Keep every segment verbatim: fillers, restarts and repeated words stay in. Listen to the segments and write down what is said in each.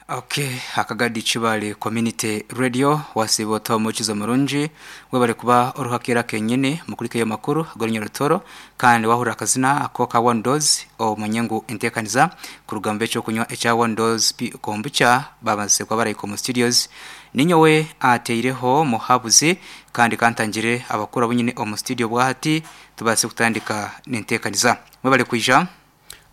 Okay, akagadi Kibale Community Radio wasiba otomukizo murungi webale kuba oruhakira kenyene mukulike yo makuru agorinya rutoro kandi wahura akazina ako ka one dose omanye ngu entekaniza kurugamba ekyo kunywa ekya one dose pi kombucha babanze kwa barayiko mu studios. Ninyowe ateireho muhabuzi kandi kantangire abakuru bunyine omu studio bwahati tubase kutandika nentekaniza. Mwebale kuija.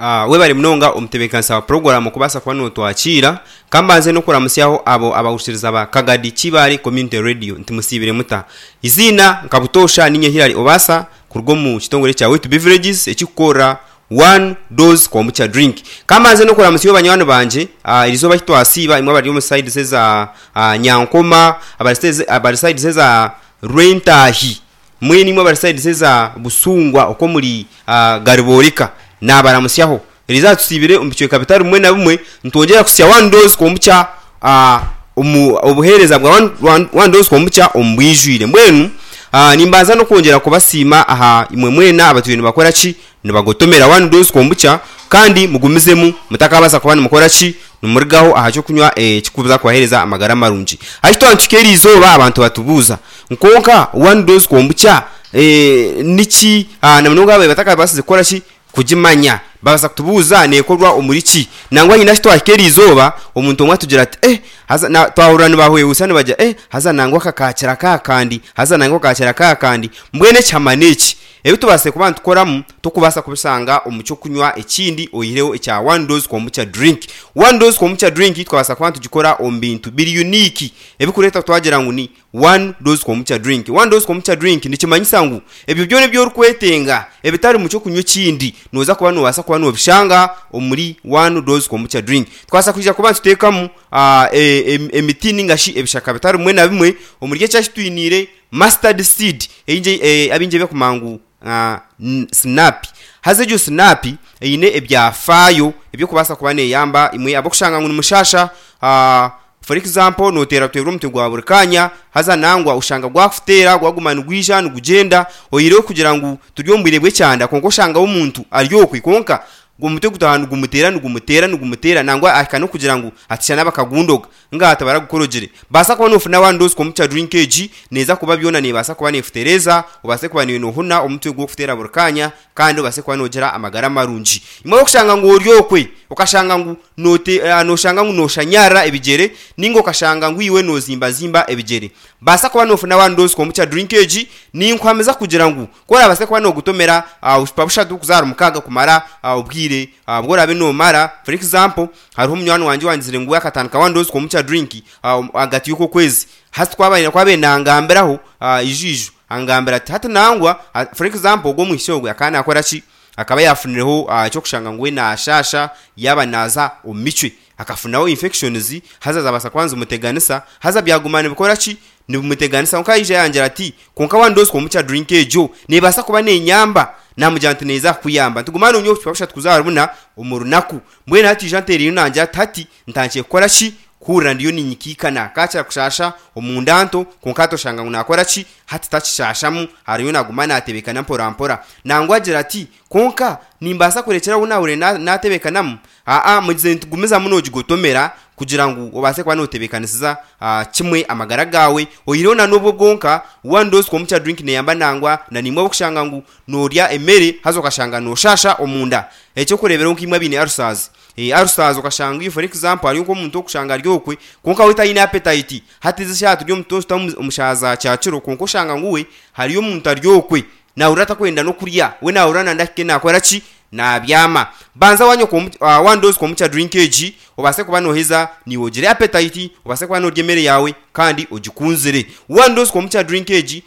Ah, webale munonga omutebeekanisa wa program kubaasa kuba notwakiira. Kambanze n'okuramusyaho abo abahurikiriza ba Kagadi Kibale Community Radio, nti musiibire muta? Iziina nkabutosha ninye Hilary Obasa kuruga omu kitongore kya Wetu Beverages ekikukora one dose kombucha drink. Kambanze n'okuramusyaho banywani bangye, ah, erizooba kitwasiiba imwe abari omu sides eza ah, Nyankoma, abari sides- abari sides eza Rwentahi, mwene imwe abari sides eza Busungwa, okwo muri ah, Gariboreka, nabaramusyaho. Eriza tusibire omu bicweka bitari bimwe na bimwe, nitwongyera kusya one dose kombucha, ah, omu obuheereza bwa one, one, one dose kombucha omu bwijwire. Mbwenu ah, nimbanza n'okwongyera kubasiima aha imwe mwena abatwire nibakora ki, nibagotomera one dose kombucha, kandi mugumizemu mutakabaasa kuba nimukora ki, nimurigaho aha kyokunywa ekikuza kubaheereza amagara marungi. Ahi twatuhika eriizooba abantu batubuuza nkonka one dose kombucha eh, niki, ah, na munonga ababaire batakabaasize kukora ki, kugimanya, babaasa kutubuuza neekorwa omuri ki. Nangwa nyina ahi twahika eriizooba omuntu omwe atugira ati eh, haza na twahurira nibahwehwesa nibagira eh, haza nangwa kakakira kakandi, haza nangwa kakakira kakandi. Mbwenu ekihama n'eki ebi tubaase kuba nitukoramu tokubaasa kubishanga omu kyokunywa ekindi oihireho ekya one dose kombucha drink. One dose kombucha drink twabaasa kuba nitugikora omu bintu biri unique ebikureeta twagira ngu ni one dose kombucha drink. One dose kombucha drink nikimanyisa ngu ebyo byona ebi orikwetenga ebitari mu kyokunywa ekindi nooza kuba nobaasa kuba nobishanga omuri one dose kombucha drink. Twabaasa kwija kuba nituteekamu ah, e- em- emiti ningashi ebishaka bitari bimwe na bimwe. Omuri ekyashi twiniire mustard seed eingi eh, abingi bekumanya ngu ah, n- snap. Haza egyo snap eine ebyafaayo ebyokubaasa kuba neyamba imwe abokushanga ngu nimushasha, ah, for example noteera teera omutwe gwa buri kanya, haza nangwa oshanga gwakuteera gwaguma nigwija nigugyenda, oihireho kugira ngu turi omu bwire bw'ekyanda, kwonka oshangaho omuntu ari okwe kwonka omutwe gutaha nigumuteera nigumuteera nigumuteera, nangwa ahika n'okugira ngu atishana bakagundoga nga tabaragukorogire. Baasa kuba nofuna one dose kombucha drink egi neeza kuba byona nebaasa kuba nefutereeza obaase kuba niwe nohuna omutwe gw'okuteera buri kanya kandi obaase kuba nogira amagara marungi. Imwe okushanga ngu ori okwe okashanga ngu note, uh, noshanga ngu noshanyarra ebigyere ninga okashanga ngu iwe nozimbazimba ebigyere, baasa kuba nofuna one dose kombucha drink egi. Ninkuhamiza kugira ngu ku orabaase kuba nogutomera uh, obucupa bushatu kuza ahari mukaaga kumara uh, obwire uh, bworabe nomara. For example, hariho omunywani wangye wangizire ngu we akatandika one dose kombucha drink uh, ahagati y'okwezi. Hati twabaire kwabaire nangambiraho uh, ijuiju angambira ati hati nangwa uh, for example ogwo omwishiki ogwe akaba nakora ki, akaba yafunireho uh, ekyokushanga ngu we nashasha yaba naza omu micwe akafunaho infections, haza zabaasa kuba nizimuteganisa, haza byaguma nibikora ki, nibimuteganisa. Konka yaija yangira ati konka one dose kombucha drink egyo nebaasa kuba nenyamba. Namugira nti neeza kukuyamba, ntuguma nonywa obucupa bushatu kuza ahari buna omu runaku. Mbwenu hati ija nteereyo nangira ati hati ntandikire kukora ki, kuhurira ndiyo ninyikiikana kakira kushasha omunda nto, konka hati oshanga ngu nakora ki, hati takishashamu, hariyo naguma natebeekana mpora mpora. Nangwa agira ati konka nimbaasa kurekyeraho nahurire natebeekanamu. Aa, mugize nitugumizamu nogigotomera kugira ngu obaase kuba notebeekanisiza ah, kimwe amagara gaawe. Oihireho na n'obwo bwonka, one dose kombucha drink neyamba nangwa na nimwe abokushanga ngu norya emere haza okashanga noshasha omunda. Ekyokureeberaho nk'imwe abaine ulcers, eh, ulcers okashanga iwe for example hariyo nk'omuntu okushanga ari okwe kwonka we tayine appetite, hati ezi eshaaha turi omu omu shaaha za kyakiro, kwonka oshanga ngu we hariyo omuntu ari okwe nahurira atakwenda n'okurya, we nahurira nanda ahike nakora ki, nabyama. Banza wanywa uh, one dose kombucha drink egi obaase kuba noheza niiwe ogire appetite, obaase kuba norya emere yaawe kandi ogikunzire. One dose kombucha drink egi.